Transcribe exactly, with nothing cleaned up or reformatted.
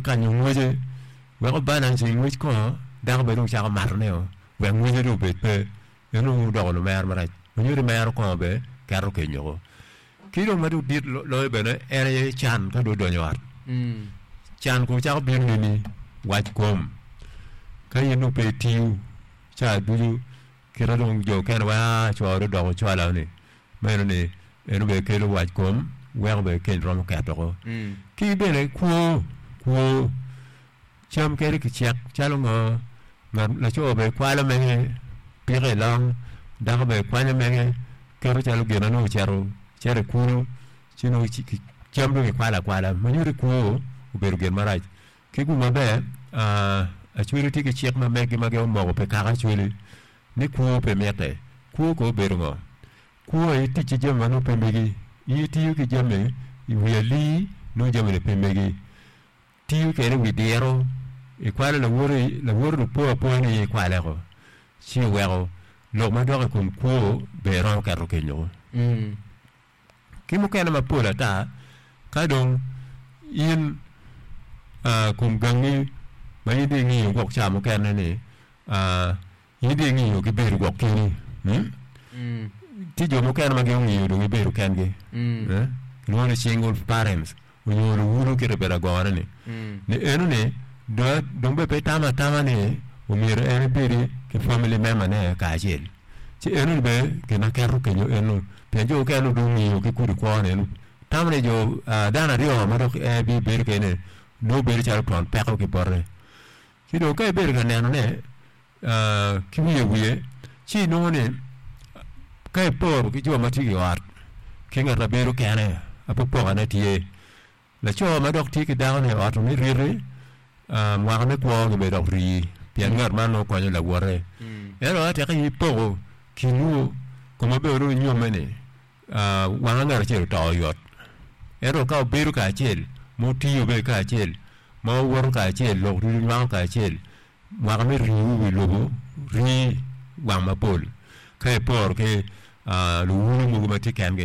Kanyo ngwece weko balance ngwec kongo dako bene dong cako matone wek ngwece dong obed pe en dong odoko lumero marac onyuto mero kongo bene keto kenyoko ki dong ma dong dit loyo bene en aye can ka dong odonyo i ot can kono cako bino nini wac kom ka in dong pe itiyo ca ducu kita dong jo okene wai aa co dong odoko cwala ni meno ni eno bene kelo wac kom weko bene keny romo ketoko ki bene kwo kwo cam kede kicek calo ngo ngat laco bene kwalo mege piko i long dako bene kwanyo mege keto calo gin na nongo ocito cito i kulu ci nongo cam dong kikwalo akwala ma nyuto ni kwo obedo gin marac ki gum maber Acholi tye ki cik ma meggi ma gin omoko pi kaka Acholi ni kwo pe mitte kwo kono obedo ngo kwo aye tic ki jami ma nongo pe megi in itiyo ki jami i wi alii nongo jami-ni pe megi tiyo kede i wi diro ikwalo lawoti lawoti dong po apoya ni in ikwale ci oweko lok ma dok i kom kwo bene romo keto kenyoko ki mukene mapol ata ka dong in kom gangi ma in dong ingiyo gwok ca mukene ni in dong ingiyo ki bedo gwok keni tye jo mukene ma gin ongiyo dong gibedo kengi kilwongo ni single parents onyo luwulo kite bedo agone ni ni eno ni dong bene pe itamo atama ni omyero en ebedi ki family member ne kacel ci eno ni bene gin ma keto kenyo eno pien jo mukene dong ongiyo ki kudi kwo ni eno tamo ni jo dano aryo ma dok en bibedo kede nongo bedo calo twon peko ki bote ci dong ka ibedo ka nenone ki wiye wiye ci inongo ni ka iporo ki jo ma tye i ot ki ngat ma bedo kene apopokane tye laco ma dok tye ki dakone i ot me riti mwaka me kwogi bene dok rii pien ngat man nongo konyo lawote ento ka teke in ipoko kinwu koma bene dong inyomme-ni wanga ngat acel oto oyot ento ka wubedo kacel ma wutiyo bene kacel ma wuwoto kacel lok ducu nywako kacel mwaka me riwu i wi lobo rii wang mapol ka iporo ki luwulo mogo ma tye kengi.